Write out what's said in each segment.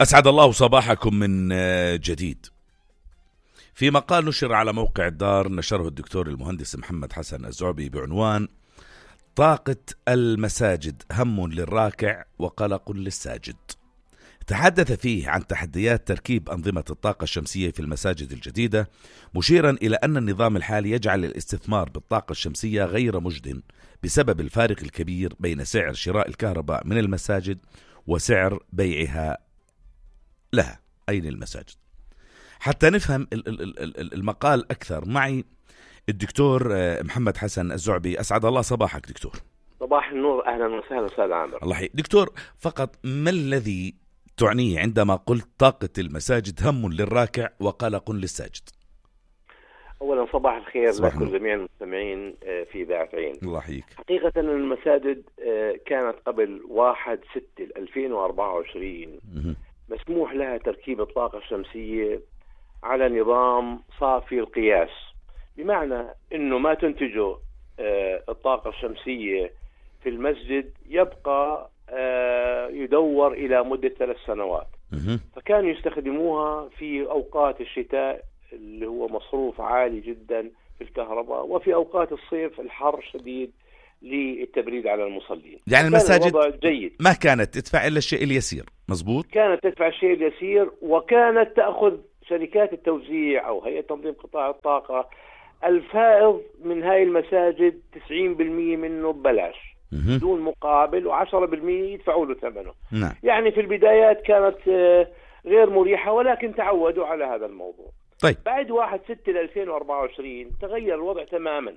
أسعد الله صباحكم من جديد. في مقال نشر على موقع الدار نشره الدكتور المهندس محمد حسن الزعبي بعنوان طاقة المساجد هم للراكع وقلق للساجد. تحدث فيه عن تحديات تركيب أنظمة الطاقة الشمسية في المساجد الجديدة، مشيرا إلى أن النظام الحالي يجعل الاستثمار بالطاقة الشمسية غير مجد بسبب الفارق الكبير بين سعر شراء الكهرباء من المساجد وسعر بيعها لها أي للمساجد. حتى نفهم المقال أكثر معي الدكتور محمد حسن الزعبي. أسعد الله صباحك دكتور. صباح النور، أهلا وسهلا أستاذ عامر. الله يحييك دكتور. فقط ما الذي تعنيه عندما قلت طاقة المساجد هم للراكع وقلق للساجد؟ أولا صباح الخير لكم جميع المستمعين في إذاعة عين. الله يحييك. حقيقة المساجد كانت قبل 1/6/2024 مسموح لها تركيب الطاقة الشمسية على نظام صافي القياس، بمعنى أنه ما تنتجه الطاقة الشمسية في المسجد يبقى يدور إلى مدة 3 سنوات. فكانوا يستخدموها في أوقات الشتاء اللي هو مصروف عالي جدا في الكهرباء، وفي أوقات الصيف الحر شديد للتبريد على المصلين. يعني المساجد جيد. ما كانت تدفع إلا الشيء اليسير. مزبوط. كانت تدفع الشيء اليسير، وكانت تأخذ شركات التوزيع أو هيئة تنظيم قطاع الطاقة الفائض من هاي المساجد 90% منه ببلاش بدون مقابل، و10% يدفعوا له ثمنه. نعم. يعني في البدايات كانت غير مريحة، ولكن تعودوا على هذا الموضوع. طيب. بعد 1/6/2024 تغير الوضع تماما.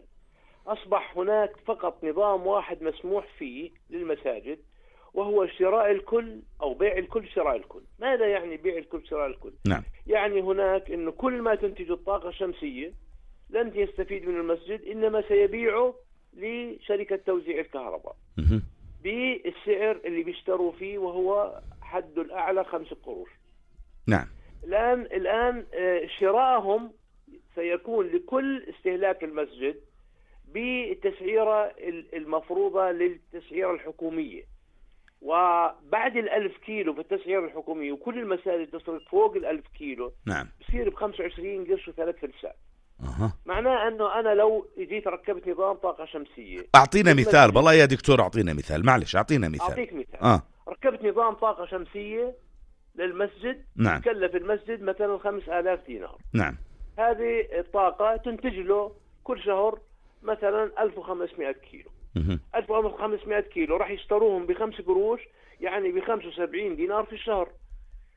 أصبح هناك فقط نظام واحد مسموح فيه للمساجد، وهو شراء الكل أو بيع الكل شراء الكل. ماذا يعني بيع الكل شراء الكل؟ نعم. يعني هناك إنه كل ما تنتج الطاقة الشمسية لن يستفيد من المسجد، إنما سيبيعه لشركة توزيع الكهرباء بالسعر اللي بيشتروا فيه، وهو حد الأعلى 5 قروش. نعم. الآن شراءهم سيكون لكل استهلاك المسجد بالتسعيرة المفروضة للتسعيرة الحكومية، وبعد 1000 كيلو في التسعيرة الحكومية، وكل المساجد تصرف فوق 1000 كيلو. نعم. بصير ب25 قرش و3 فلسات. معناه أنه أنا لو جيت ركبت نظام طاقة شمسية. أعطينا مثال بالله يا دكتور، أعطينا مثال. معلش أعطينا مثال. أعطيك مثال. ركبت نظام طاقة شمسية للمسجد. نعم. تكلف المسجد مثلا 5000 دينار. نعم. هذه الطاقة تنتج له كل شهر مثلا 1500 كيلو. 1500 كيلو راح يشتروهم ب5 قروش، يعني ب75 دينار في الشهر.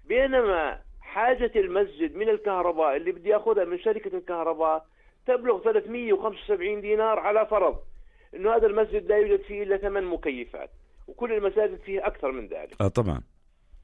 بينما حاجة المسجد من الكهرباء اللي بدي أخذها من شركة الكهرباء تبلغ 375 دينار، على فرض إنه هذا المسجد لا يوجد فيه إلا 8 مكيفات، وكل المساجد فيه أكثر من ذلك. طبعا.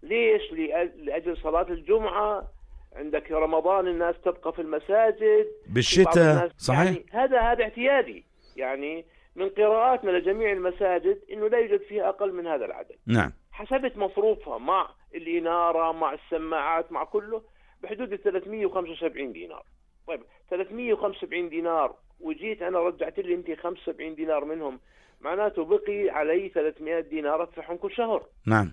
ليش؟ لأجل صلاة الجمعة، عندك رمضان الناس تبقى في المساجد بالشتاء. صحيح. يعني هذا اعتيادي، يعني من قراءاتنا لجميع المساجد إنه لا يوجد فيها أقل من هذا العدد. نعم. حسبت مصروفها مع الإنارة مع السماعات مع كله بحدود 375 دينار. طيب 375 دينار، وجيت أنا رجعت لي أنت 75 دينار منهم، معناته بقي علي 300 دينار أدفعهم كل شهر. نعم.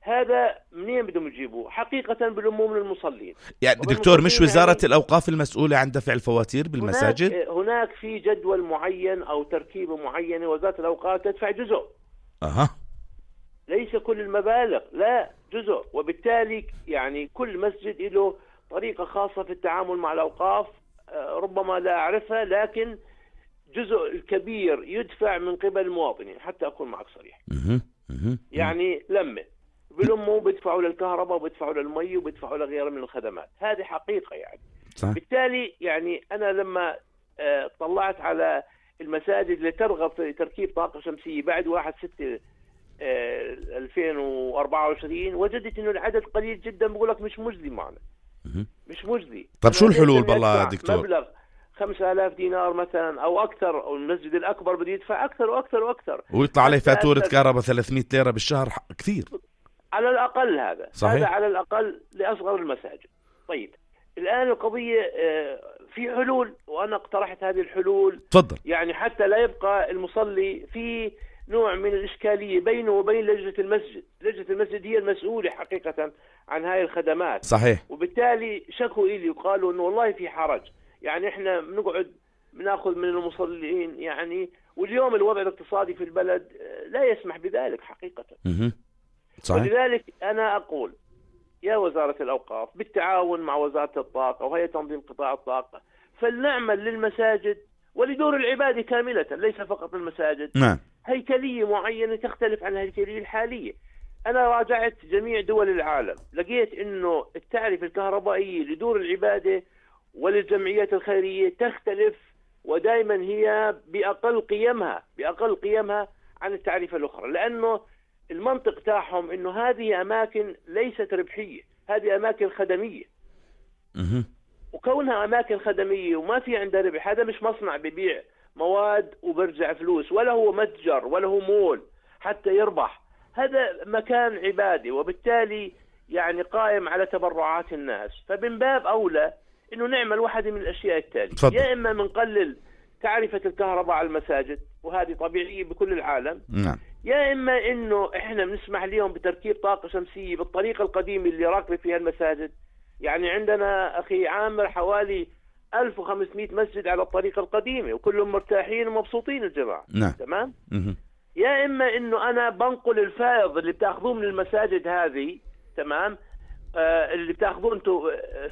هذا منين بدهم يجيبوه؟ حقيقة بالأمم للمصلين. يعني دكتور، مش وزارة الأوقاف المسؤولة عن دفع الفواتير بالمساجد؟ هناك في جدول معين أو تركيبة معينة، وزارة الأوقاف تدفع جزء. ليس كل المبالغ، لا جزء. وبالتالي يعني كل مسجد له طريقة خاصة في التعامل مع الأوقاف، ربما لا أعرفها، لكن جزء الكبير يدفع من قبل المواطنين. حتى أكون معك صريح. يعني لما بالأمو بيدفعوا للكهرباء وبيدفعوا للمي وبيدفعوا لغيرها من الخدمات، هذه حقيقة يعني. صح. بالتالي يعني أنا لما طلعت على المساجد اللي ترغب في تركيب طاقة شمسية بعد 1/6/2024 وجدت إنه العدد قليل جدا. بقول لك مش مجزي معنا. مش مجزي. طب شو الحلول بالله دكتور؟ مبلغ 5000 دينار مثلا أو أكثر، أو المسجد الأكبر بده يدفع أكثر وأكثر وأكثر، ويطلع عليه فاتورة كهرباء 300 ليرة بالشهر. كثير على الأقل. هذا صحيح. هذا على الأقل لأصغر المساجد. طيب الآن القضية في حلول، وأنا اقترحت هذه الحلول. تفضل. يعني حتى لا يبقى المصلي في نوع من الإشكالية بينه وبين لجنة المسجد. لجنة المسجد هي المسؤولة حقيقة عن هاي الخدمات. صحيح. وبالتالي شكوا إلي وقالوا إنه والله في حرج، يعني إحنا بنقعد بناخذ من المصلين يعني، واليوم الوضع الاقتصادي في البلد لا يسمح بذلك حقيقة. صحيح. ولذلك أنا أقول يا وزارة الأوقاف بالتعاون مع وزارة الطاقة وهي تنظيم قطاع الطاقة فلنعمل للمساجد ولدور العبادة كاملة، ليس فقط المساجد. نعم. هيكلية معينة تختلف عن الهيكلية الحالية. أنا راجعت جميع دول العالم، لقيت إنه التعرفة الكهربائية لدور العبادة وللجمعيات الخيرية تختلف، ودائما هي بأقل قيمها عن التعريفة الأخرى، لأنه المنطق تاعهم إنه هذه أماكن ليست ربحية، هذه أماكن خدمية. وكونها أماكن خدمية وما في عندها ربح، هذا مش مصنع ببيع مواد وبرجع فلوس، ولا هو متجر ولا هو مول حتى يربح، هذا مكان عبادي، وبالتالي يعني قائم على تبرعات الناس. فمن باب أولى إنه نعمل واحدة من الأشياء التالية. يا إما منقلل تعرفة الكهرباء على المساجد، وهذه طبيعية بكل العالم. نعم. يا إما إنه إحنا بنسمح لهم بتركيب طاقة شمسية بالطريقة القديمة اللي راكبة فيها المساجد. يعني عندنا أخي عامر حوالي 1500 مسجد على الطريقة القديمة وكلهم مرتاحين ومبسوطين الجماعة. نعم. تمام. يا إما إنه أنا بنقل الفائض اللي بتاخذوه من المساجد هذه، تمام، اللي بتاخذوه انتم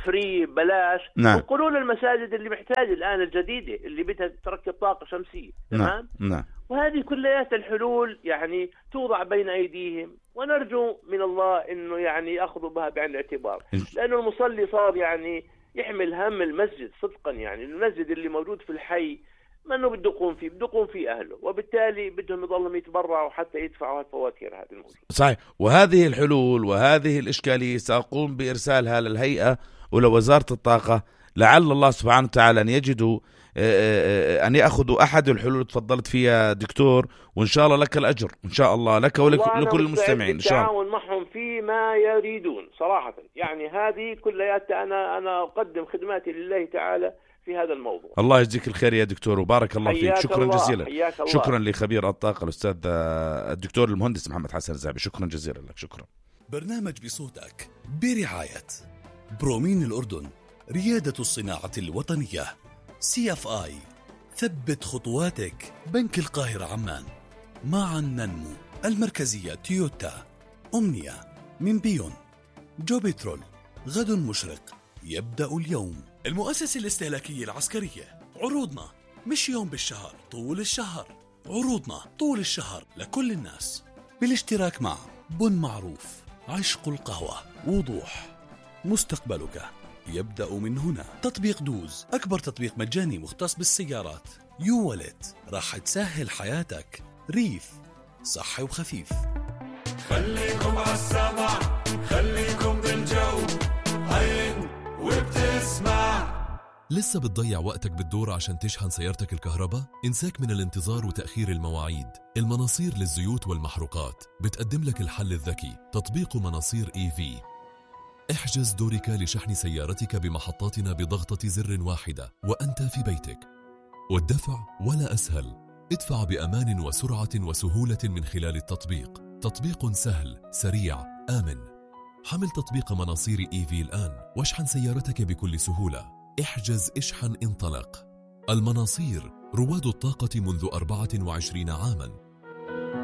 فري بلاش، انقلوا للمساجد اللي محتاجة الآن الجديدة اللي بدها تركب طاقة شمسية. تمام. نعم. وهذه كليات الحلول يعني توضع بين أيديهم، ونرجو من الله إنه يعني يأخذوا بها بعين الاعتبار، لأنه المصلي صار يعني يحمل هم المسجد صدقا. يعني المسجد اللي موجود في الحي ما انه بده يقوم فيه اهله، وبالتالي بدهم يضلهم يتبرعوا حتى يدفعوا الفواتير هذه الموجودة. صحيح. وهذه الحلول وهذه الإشكالية سأقوم بإرسالها للهيئة ولوزارة الطاقة، لعل الله سبحانه وتعالى أن يجدوا أن يأخذوا أحد الحلول تفضلت فيها دكتور، وإن شاء الله لك الأجر إن شاء الله، لك ولكل المستمعين إن شاء الله. التعاون معهم فيما يريدون صراحة. يعني هذه كلياتها أنا أقدم خدماتي لله تعالى في هذا الموضوع. الله يجزيك الخير يا دكتور وبارك الله فيك. شكرا جزيلا. شكرا لخبير الطاقة الأستاذ الدكتور المهندس محمد حسن الزعبي. شكرا جزيلا لك. شكرا. برنامج بصوتك برعاية برومين الأردن، ريادة الصناعة الوطنية، CFI ثبت خطواتك، بنك القاهرة عمان، معا ننمو، المركزية تويوتا، أمنية من بيون، جوبيترول، غد مشرق يبدأ اليوم، المؤسسة الاستهلاكية العسكرية. عروضنا مش يوم بالشهر، طول الشهر. عروضنا طول الشهر لكل الناس، بالاشتراك مع بن معروف، عشق القهوة، وضوح، مستقبلك يبدأ من هنا. تطبيق دوز، أكبر تطبيق مجاني مختص بالسيارات. يو والت، راح تسهل حياتك. ريف، صحي وخفيف. خليكم عالسمع، خليكم بالجو، عين وبتسمع. لسه بتضيع وقتك بالدور عشان تشحن سيارتك الكهرباء؟ انساك من الانتظار وتأخير المواعيد. المناصير للزيوت والمحروقات بتقدم لك الحل الذكي، تطبيق مناصير EV. احجز دورك لشحن سيارتك بمحطاتنا بضغطة زر واحدة وأنت في بيتك. والدفع ولا أسهل، ادفع بأمان وسرعة وسهولة من خلال التطبيق. تطبيق سهل، سريع، آمن. حمل تطبيق مناصير EV الآن واشحن سيارتك بكل سهولة. احجز، اشحن، انطلق. المناصير، رواد الطاقة منذ 24 عاماً.